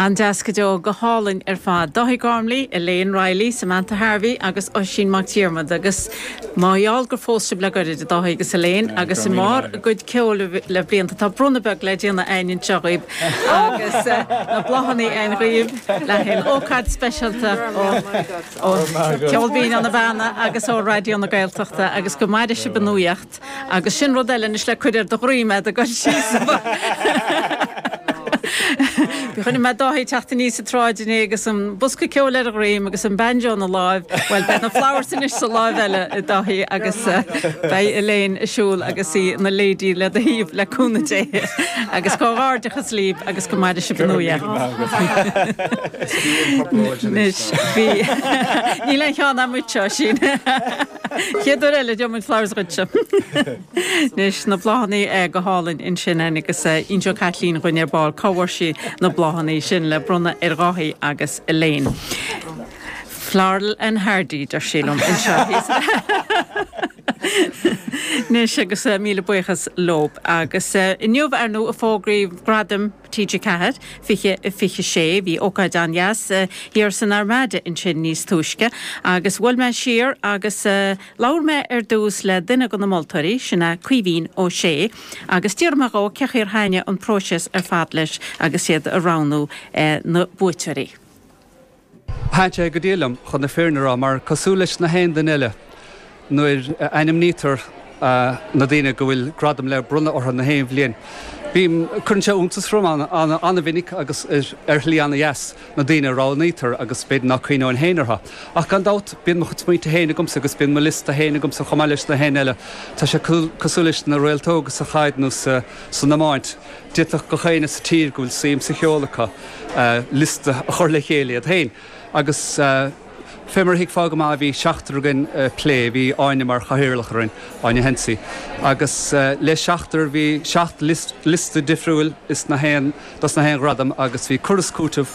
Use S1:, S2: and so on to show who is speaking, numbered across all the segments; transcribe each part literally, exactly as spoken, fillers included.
S1: An-deas go deo go hálainn ar fad. Dáithí Gormley, Elaine Riley, Samantha Harvey agus Oisín Mac Diarmada agus mar gheall gur phós sibh le gairid a Dháithí agus Elaine agus i mbarr a gcuid ceoil le blianta tá bronnadh beag le déanamh againn anseo dhaoibh agus eh, na bláthanna againn dhaoibh le haghaidh ócáid speisialta ó Ceol Binn ó na Beanna agus ó Raidió na Gaeltachta agus go maire sibh i nuaíocht agus sin rud eile anois le cur ar do dhroim do go síos. Chonaic mé Dáithí teacht aníos an tsráid inné agus an bosca ceoil ar a dhroim agus an banjo ina láimh, well beidh na flowers anois sa láimh eile a Dháithí agus uh, beidh Elaine ag siúl agus í ina lady le do thaobh le cúnamh Dé agus comhghairdeachas libh agus go maire sibh i nuaíocht. Anois bhí níl aon cheann amuigh seo sin. Chéad uair eile deomuid flowers dhuitse. Anois na bláthanna go hálainn ansin agus inseoidh Caitlín dúinn ar ball cá bhfuair sí na bláthanna sin le bronnadh ar Dháithí agus Elaine. Floral and Hardy deir sí liom anseo. Anois agus uh, míle buíochas leo agus uh, inniu ar ndóigh a fógraíodh gradaim TG Ceathair fiche fiche sé bhí ócáid an-deas uh, thiar san Armada ansin níos túisce agus bhuail mé siar agus uh, labhair mé ar dtús le duine de na moltóirí sin é Caoimhín Ó Sé agus d'iarr mé dhó cén chaoi ar thaitnigh an próiseas ar fad leis agus iad ag roghnú uh, na buaiteoirí.
S2: Thaitin sé go diail liom chun na fírinne a rá mar cosúil leis na haon duine eile nuair ainmnítear uh, na daoine go bhfuil gradam le bronnadh orthu na haon bhliain. Bím cuireann sé iontas orm an-mhinic agus ar shlí an-deas na daoine a roghnaítear agus b'fhéidir nach gcuimhneoinn féin orthu. Ach gan dabht bíonn mo chuid smaointe féin agamsa agus bíonn mo liosta féin agamsa chomh maith leis na haon eile. Tá sé cosúil leis na réaltóga sa chaid nó sa san iomáint. D'fhéadfadh gach éinne sa tír go bhfuil suim sa cheol acu uh, liosta a chur le chéile iad féin. Agus uh, Fé mar thuigfeá go maith bhí seachtar againn uh, plé bhí Áine mar chathaoirleach orainn Áine Hensey. Agus uh, le seachtar bhí seacht list, liosta difriúil is na haon dos na haon ghradam agus bhí cur is cúiteamh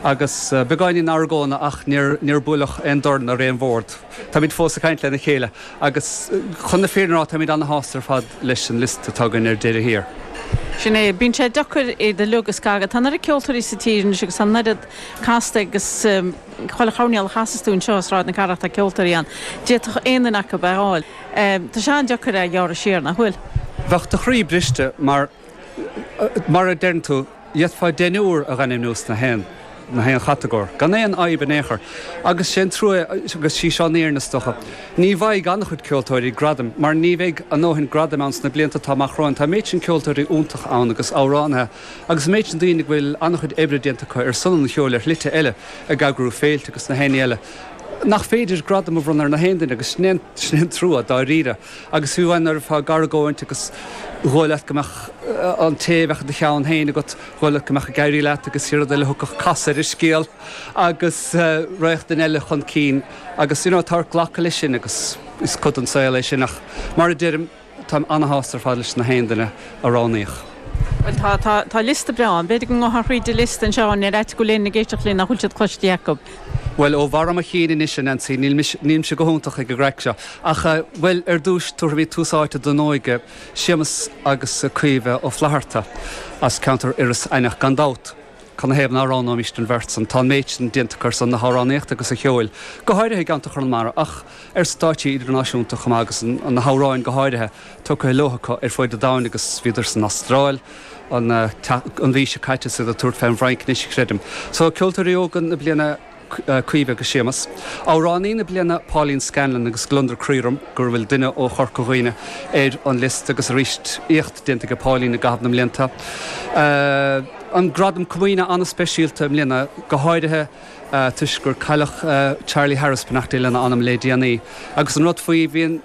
S2: agus uh, beagáinín argóna ach níor níor buaileadh aon dorn ar aon bhord. Táimid fós ag caint lena chéile agus chun na fírinne a rá táimid an-shásta ar fad leis an liosta atá againn ar deireadh thiar.
S1: Sin é bíonn sé deacair é de lugus gaga Tá na ceoltóirí sa tír agus an oiread casta agus um, chuile choirnéal a chasas tú anseo Sráid na Cathrach tá ceoltóirí ann. D'fhéadfadh aon duine acu a fháil. Um, Tá sé an-deacair a ghearradh siar nach bhfuil.
S2: Bheadh do chroí briste mar mar a deireann tú d'fhéadfá deichniúr a ainmniú sna haon na haon chatagóir, Gan aon fhadhb in aon chor, agus sin trua agus sí seo níor na stocha. Ní bheidh an-chuid ceoltóirí gradam, mar ní bheidh a ndóthain gradam ann sna blianta atá amach romhainn tá méid sin ceoltóirí iontach ann agus amhránaithe, agus méid sin daoine go bhfuil an-chuid oibre déanta acu ar son an cheoil ar shlite eile ag eagrú féilte agus na haon ní eile. Nach féidir gradam a bhronnadh ar na haon duine agus sin sin trua dáiríre, agus fiú amháin nuair atá argóint agus dhóigh leat go mbeadh an té a bheadh i do cheann féin agat dhóigh leat go mbeadh ag éirí leat agus rud eile thiocfadh casadh ar an scéal agus uh, raghadh duine eile chun cinn agus you know, tá glacadh leis sin agus is cuid den saol é sin ach mar a deirim táim an-shásta ar fad leis na haon duine a roghnaíodh.
S1: Well tá tá tá liosta breá, b'fhéidir go ngabhfaí thríd an liosta anseo ar áit go léin na géisteach linn nach bhfuil siad cloiste acu.
S2: Well ó bharr mo chinn anois a Nancy nílimse go hiontach ag an gcraic seo. Ach uh, well ar dtús tabharfaidh mé tús áite don óige Séamus agus Caoimhe Ó Flatharta as ceantar Iorras Aithneach gan dabht. Canathaobh nach roghnóimis an bheirt san tá méid sin déanta ar son na hamhránaíochta agus an cheoil. Go háirithe i gceantar Chonamara ach ar stáitsí idirnáisiúnta chomh maith agus na hamhráin go háirithe tugtha leo acu ar fud an domhain agus bhíodar san Astráil an an mhí seo caite sa tabhairt fén bhFrainc anois creidim. So ceoltóirí óga na bliana Caoimhe agus Séamus. Amhránaí na bliana Pauline Scanlon agus gliondar croí orm go bhfuil duine ó Chorca Dhuibhne ar an liosta agus arís éacht déanta ag Pauline i gcaitheamh na mblianta. Uh, an gradam comaoine an-speisialta i mbliana go háirithe uh, toisc gur cailleadh uh, Charlie Harris beannacht Dé lena anam le déanaí. Agus an rud faoi bhíon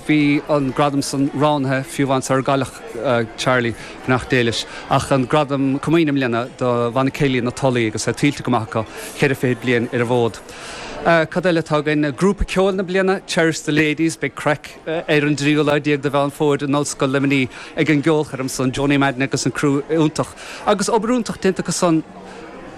S2: bhí an gradam san roghnaithe fiú amháin sar cailleadh uh, Charlie beannacht Dé leis ach an gradam comaoine i mbliana do bhanna céilí na Tulaí agus é tuillte go maith acu ceithre fiche bliain ar an bhfód. Uh, Cad eile atá againn grúpa ceoil na bliana Cherish the Ladies beidh craic uh, ar an dtríú lá déag de Mheán Fómhair in Ollscoil Luimnigh ag an gceolchoirm san Johnny Madden agus an crew iontach. Agus obair iontach déanta acu san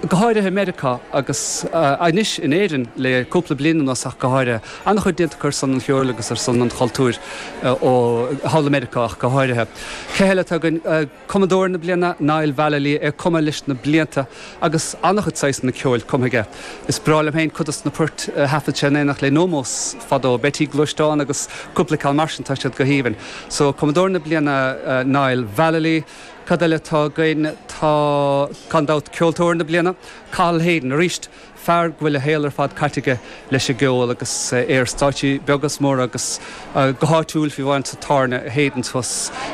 S2: Go háirithe i Meiriceá agus anois in Éirinn le cúpla bliain anuas ach go háirithe. An-chuid déanta acu ar son an cheoil agus ar son an chultúir ó thall i Meiriceá ach go háirithe. Cé eile atá againn? Cumadóir na bliana, Niall Vallely, é ag cumadh leis na blianta agus an-chuid saghsanna ceoil cumtha aige. Is breá liom féin cuid dos na poirt a thaifead sé in éineacht le Nomos fadó, Betty Gluaisteán agus cúpla ceann mar sin, tá siad go haoibhinn. So Cumadóir na bliana, Niall Vallely. Cad eile atá againn? Tá, gan dabht, Ceoltóir na Bliana, Cathal Hayden, arís, fear go bhfuil a shaol ar fad caite aige leis an gceol agus é ar stáitsí beaga is móra agus go háitiúil fiú amháin sa tábhairne Hayden's thuas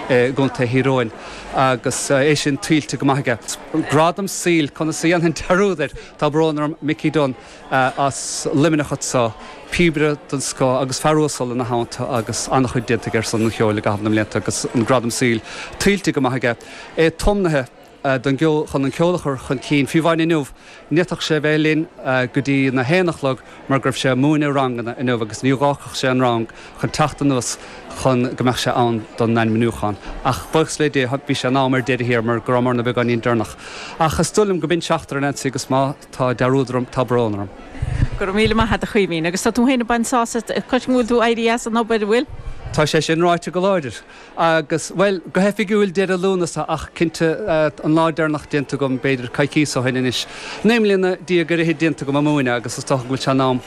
S2: i gContae Thír Eoghain agus é sin tuillte go maith aige. Gradam saoil, conas a dhéanfainn dearúd air? Tá brón orm, Mickey Dunne as Luimneach anseo. Píobaire den scoth agus fear uasal ina theannta agus an-chuid déanta aige ar son an cheoil i gcaitheamh na mblianta agus an gradam saoil tuillte go maith aige. É tiomnaithe don gceol chun an ceol a chur chun cinn. Fiú amháin inniu, ní fhéadfadh sé a bheith linn go dtí na haon a chlog mar go raibh sé ag múineadh ranganna inniu agus ní dh'fhágfadh sé an rang chun teacht anuas chun go mbeadh sé ann don ainmniúchán. Ach buíochas le Dia bhí sé in am ar deireadh thiar mar go rabhamarna beagáinín deireanach. Ach is dóigh liom go b'in seachtar a Nancy agus má tá dearúd orm tá brón orm.
S1: Go raibh míle maith agat a Chaoimhín. Agus tá tú féin ag baint sásamh as, cloisim go bhfuil tú éirithe as an obair, an bhfuil?
S2: Tá sé sin ráite go láidir. Agus, bhuel, go hoifigiúil deireadh Lúnasa ach cinnte an lá deireanach déanta agam b'fhéidir coicíos ó shin anois. Naoi mbliana déag ar fhichid déanta agam ag múineadh agus is dócha go bhfuil sé in am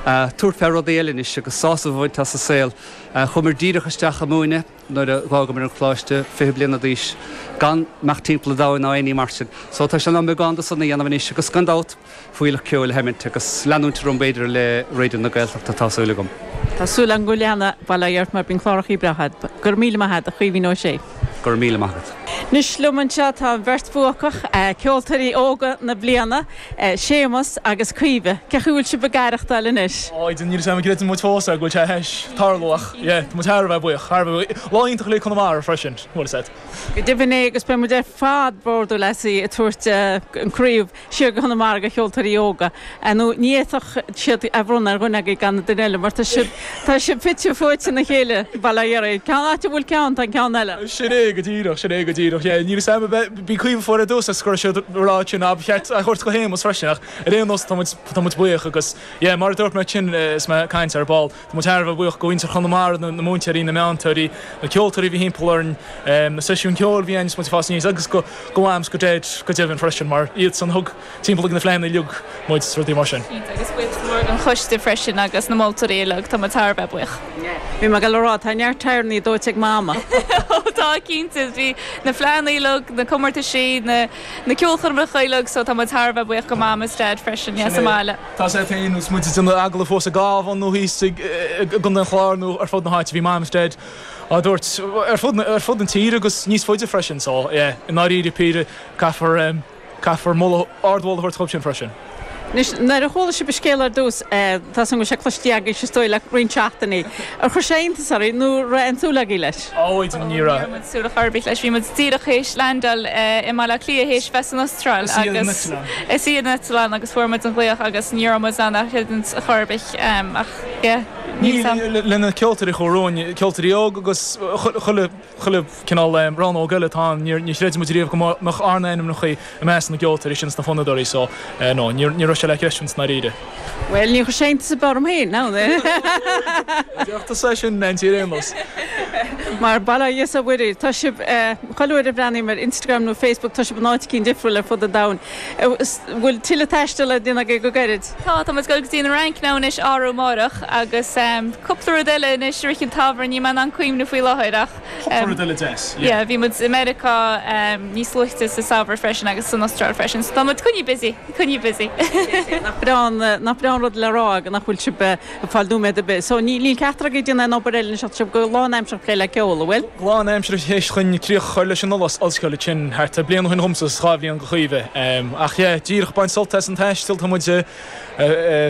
S2: tabhairt fé rudaí eile anois agus sásamh a bhaint as an saol. Chuamar díreach isteach ag múineadh nuair a dh'fhágamar an coláiste, fiche bliana d'aois, gan imeacht timpeall an domhain ná aon ní mar sin. So tá sé in am beagán de san a dhéanamh anois agus gan dabht, fuílleach ceoil a sheimint agus leanúint orm b'fhéidir le Raidió na Gaeltachta, tá súil agam.
S1: Tá súil agam go leanfaidh, bail ó Dhia ort mar bíonn clárachaí breátha agat. Go raibh míle maith agat, a Chaoimhín Ó Sé.
S2: Go raibh míle maith agat.
S1: Anois liom anseo tá an bheirt bhuacach, ceoltóirí óga na bliana, Séamus agus Caoimhe. Cén chaoi a bhfuil sibh ag aireachtáil anois?
S3: Á, níl 'fhios a'm an gcreideann muid fós é go bhfuil sé théis tarlú ach yeah, tá muid thar a bheith buíoch, thar a bheith buíoch. Lá iontach le Conamara freisin, bhfuil 'fhios a'd.
S1: Go deimhin é agus beidh muid ar fad bródúil asaibh ag tabhairt an craobh siar go Conamara do cheoltóirí óga. Nó ní fhéadfadh siad a bhronnadh ar dhuine agaibh gan an duine eile mar tá sibh tá sibh fite fuaite ina chéile, bail ó Dhia oraibh. Ceann áit a bhfuil ceann tá an ceann eile.
S3: Sin é go díreach, sin é go díreach. Yeah, níl 'fhios a'm bhí Caoimhe fuar ar dtús agus go raibh siad ag rá sin ba cheart a thabhairt go Shéamus freisin ach ar aon nós tá muid tá muid buíoch agus yeah, mar a dúirt mé sin is mé ag caint ar ball, tá muid thar a bheith buíoch go mhuintir Chonamara, na múinteoirí, na meantóirí, na ceoltóirí a bhí thimpeall orainn, na seisiúin ceoil a bhí ann is muid ag fás aníos agus go go Mam 's go Daid go deimhin freisin mar iadsan a thug timpeall ag na fleadhanna uilig muid is rudaí mar sin.
S4: Cinnte, agus buíochas mór don choiste freisin agus na moltóirí uilig, tá muid thar a bheith buíoch.
S1: Bhí mé ag dul a rá, tá neart tyreannaí dóite ag Mama.
S4: Ó tá, cinnte, bhí na fleadhanna uilig, na comórtaisí, na na ceolchoirmeacha uilig so tá muid thar a bheith buíoch go Mam is Daid freisin, yeah, sa mbaile.
S3: Tá sé féin agus muid ag déanamh agallamh fós i gCabhán nó thíos i gContae an Chláir nó ar fud na háite, bhí Mam is Daid á dtabhairt ar fud ar fud an tír agus níos faide freisin so yeah, i ndáiríre píre caithfear caithfear moladh ardmholadh a thabhairt dhóibh sin freisin.
S1: Anois, nuair a chuala sibh an scéal ar dtús, tá 's agam go bhfuil sé cloiste agaibh is dóigh le roinnt seachtainí, ar chuir sé iontas oraibh nó raibh aon tsúil agaibh leis?
S3: Ó, ní raibh.
S4: Ní raibh muid súil chor ar bith leis. Bhí muid díreach théis landáil i mBaile Átha Cliath théis bheith san Astráil agus is í an eitleán agus fuair muid an ghlaoch agus ní raibh muid in ann a chreidiúint chor ar bith ach yeah, níl 's a'm.
S3: Le na ceoltóirí a chuaigh romhainn, ceoltóirí óga agus chuile chuile cineál rannóg eile atá ann, ní chreid muid riamh go mbeadh ár n-ainmneacha i measc na gceoltóirí sin is na fonnadóirí so no, ní raibh sé le creidiúint i ndáiríre.
S1: Bhuel, ní chuir sé iontas ar bith orm féin, ná.
S3: Déarfadh tusa é sin, Nancy, ar aon nós.
S1: Mar bail ó Dhia is ó Mhuire, tá sibh, chuile uair a bhreathnaím ar Instagram nó Facebook, tá sibh in áit eicínt difriúil ar fud an domhain. Bhfuil tuilleadh taistil le déanamh agaibh go gairid?
S4: Tá, tá muid ag dul go dtí an Fhrainc now anois arú amárach agus cúpla rud eile anois i rith an tsamhraidh, níl mé in ann cuimhneamh faoi láthair ach
S3: Cúpla rud eile deas,
S4: yeah. Yeah, bhí muid i Meiriceá níos luaithe sa samhradh freisin agus san Astráil freisin so tá muid coinnithe busy, coinnithe busy.
S1: Nach breá an, nach breá an rud le rá nach bhfuil sibh ag fáil nóiméad ar bith. So níl, níl ceachtar agaibh ag déanamh aon obair eile anois ach tá sibh go lánaimseartha ag plé le ceol, an bhfuil?
S3: Go lánaimseartha théis chun críoch a chur leis an ollscoil ansin thart ar bliain ó shin dhomsa is dhá bhliain go Chaoimhe. Ach yeah, díreach ag baint sult as an taisteal, tá muid ag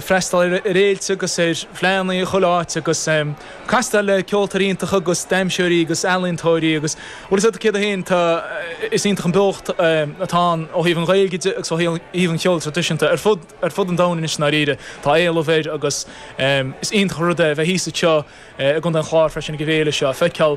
S3: freastal ar fhéilte agus ar fleadhanna i chuile áit agus castáil le ceoltóirí iontacha agus damhsóirí agus ealaíontóirí agus bhfuil 'fhios agat céard é féin, tá, is iontach an beocht atá ann ó thaobh an Ghaeilge de agus ó thaobh an cheoil traidisiúnta ar fud ar fud an domhain anois i ndáiríre. Tá éileamh air agus is iontach an rud é bheith thíos anseo i gContae an Chláir freisin ag an bhféile seo, feiceáil